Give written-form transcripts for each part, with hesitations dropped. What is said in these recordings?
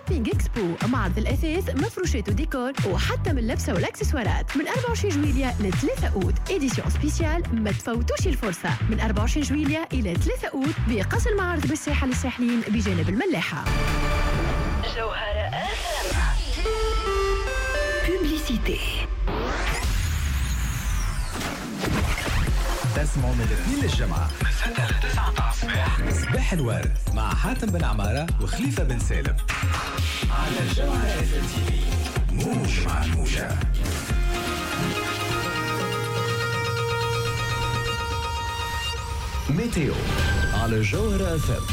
Shopping Expo، معرض الاثاث، مفروشات وديكور، وحتى من اللبسه والاكسسوارات، من 24 جويليا ل 3 اوت. édition spéciale، ما تفوتوش الفرصة، من 24 جويليا الى 3 اوت بقصر المعارض بالساحة للساحلين بجانب الملاحة. جوهرة publicité. تسمعوا من الاثنين للجمعة من 6 ل 9 متاع الصباح، صباح الورد مع حاتم بن عمارة وخليفة بن سالم على جوهرة اف ام تي في، موج مع الموجة. météo على جوهرة اف ام.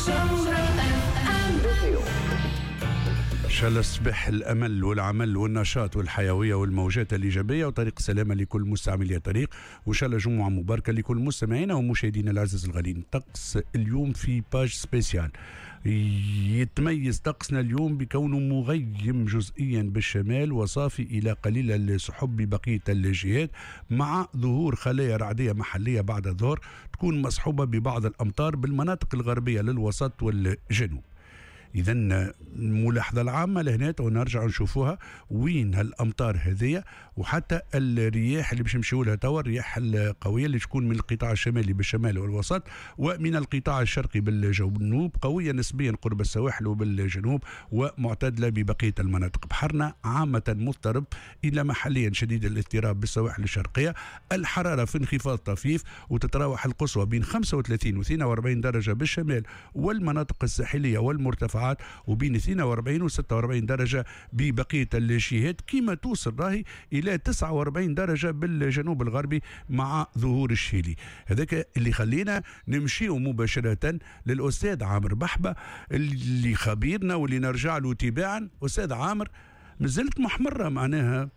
جوهرة اف ام. ان شاء الله صباح الامل والعمل والنشاط والحيوية والموجات الايجابية وطريق السلامة لكل مستعملي الطريق، وان شاء الله جمعه مباركة لكل مستمعينا ومشاهدينا العزاز الغاليين. طقس اليوم في page spéciale، يتميز طقسنا اليوم بكونه مغيم جزئيا بالشمال وصافي الى قليل السحب ببقية الجهات، مع ظهور خلايا رعديه محليه بعد الظهر تكون مصحوبه ببعض الامطار بالمناطق الغربية للوسط والجنوب. اذا الملاحظة العامة لهنا ونرجع نشوفوها وين هالامطار هذيا، وحتى الرياح اللي باش نمشيو لها توا، الرياح القوية اللي تكون من القطاع الشمالي بالشمال والوسط ومن القطاع الشرقي بالجنوب، قوية نسبيا قرب السواحل وبالجنوب ومعتدله ببقية المناطق. بحرنا عامة مضطرب الى محليا شديد الاضطراب بالسواحل الشرقية. الحرارة في انخفاض طفيف وتتراوح القصوى بين 35 و 42 درجه بالشمال والمناطق الساحلية والمرتفعات، وبين 42 و 46 درجة ببقية الجهات، كما توصل راهي إلى 49 درجة بالجنوب الغربي مع ظهور الشيلي. هذاك اللي خلينا نمشيو مباشرة للأستاذ عامر بحبة اللي خبيرنا واللي نرجع له تباعا. أستاذ عامر، مازلت محمرة معناها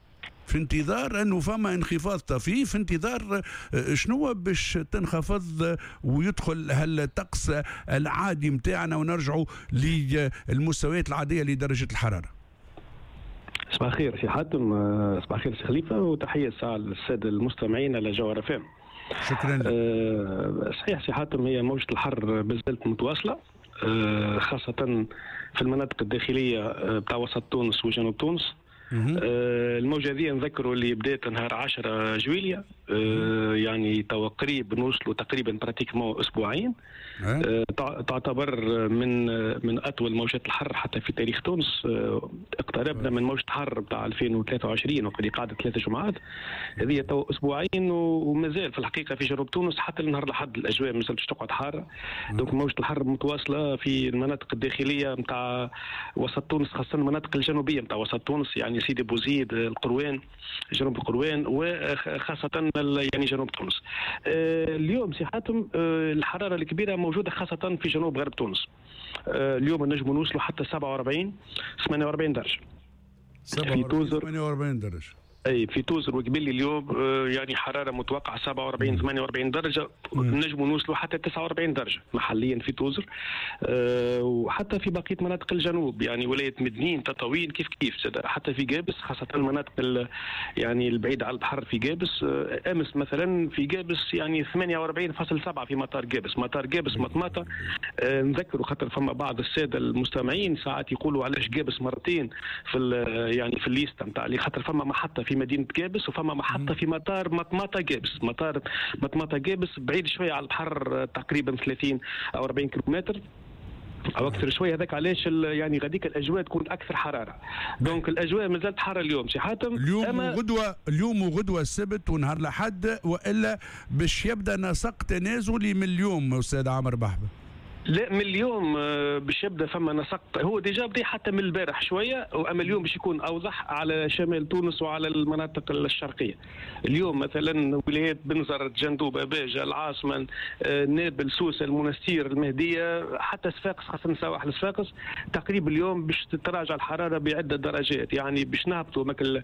في انتظار انه فما انخفاض طفيف، في انتظار شنو باش تنخفض ويدخل هالطقس العادي متاعنا ونرجعوا للمستويات العادية لدرجة الحرارة. صباح الخير سي حاتم، صباح الخير سي خليفة، وتحية الساعة للسادة المستمعين على جوهرة اف ام. شكرا لك. صحيح سي حاتم، هي موجه الحر مازالت متواصلة، خاصة في المناطق الداخلية بتاع وسط تونس وجنوب تونس. الموجة هذه نذكروا اللي بدات نهار 10 جويليا، يعني توا قريب نوصلوا تقريبا pratiquement اسبوعين. تعتبر من اطول موجات الحر حتى في تاريخ تونس. اقتربنا من موجة حر بتاع 2023 وقد قعدت 3 جمعات، هذه توا اسبوعين ومازال في الحقيقة في جنوب تونس حتى النهار لحد الاجواء مازالت باش تقعد حارة. donc موجة الحر متواصلة في المناطق الداخلية نتاع وسط تونس، خاصة المناطق الجنوبية نتاع وسط تونس، يعني سيدي بوزيد، القروان، جنوب القروان، وخاصة يعني جنوب تونس. اليوم سي حاتم، الحرارة الكبيرة موجودة خاصة في جنوب غرب تونس. اليوم نجموا نوصلوا حتى 47 48 درجة في توزر، 48 درجة اي في توزر وقبلي اليوم، يعني حرارة متوقعه 47 48 درجه، نجموا نوصلوا حتى 49 درجه محليا في توزر، وحتى في بقية مناطق الجنوب، يعني ولاية مدنين، تطاوين، كيف كيف، حتى في قابس، خاصة المناطق يعني البعيدة على البحر في قابس. امس مثلا في قابس يعني 48.7 في مطار قابس، مطار قابس مطماطه. نذكروا خاطر فما بعض السادة المستمعين ساعات يقولوا علاش قابس مرتين في يعني في ال liste نتاع، اللي خاطر فما محطة في مدينة قابس وفما محطة في مطار مطماطة قابس. مطار مطماطة قابس بعيد شوية على البحر، تقريبا 30 أو 40 كيلومتر أو أكثر شوية. هذاك علاش يعني غاديك الأجواء تكون أكثر حرارة. donc الأجواء مازالت حارة اليوم سي حاتم. اليوم وغدوة، اليوم وغدوة السبت ونهار الأحد، وإلا باش يبدأ نسق تنازلي من اليوم أستاذ عامر بحبة؟ لا، من اليوم باش يبدا فما نسق، هو déjà بدا حتى من البارح شوية، واما اليوم باش يكون اوضح على شمال تونس وعلى المناطق الشرقية. اليوم مثلا ولايات بنزرت، جندوبه، باجه، العاصمة، نابل، سوسة، المنستير، المهدية، حتى صفاقس، خاصة سواحل صفاقس، تقريبا اليوم باش تتراجع الحرارة بعده درجات، يعني باش نهبطوا ماك ال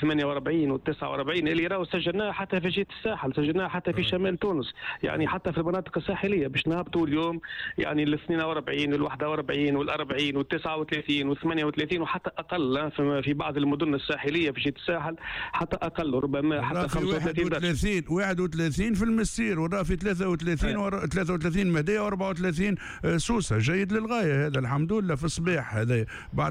48 وال 49 اللي راهو سجلناها حتى في جهة الساحل، سجلناها حتى في شمال تونس، يعني حتى في المناطق الساحلية باش نهبطوا اليوم يعني ال 42 وال 41 وال 40 وال 39 وال 38 وحتى اقل في بعض المدن الساحلية في جهة الساحل، حتى اقل ربما حتى 35 درجه. 31 في المسير، وراه في 33 33 مهديه و34 سوسة. جيد للغاية هذا الحمد لله في الصباح هذا بعد.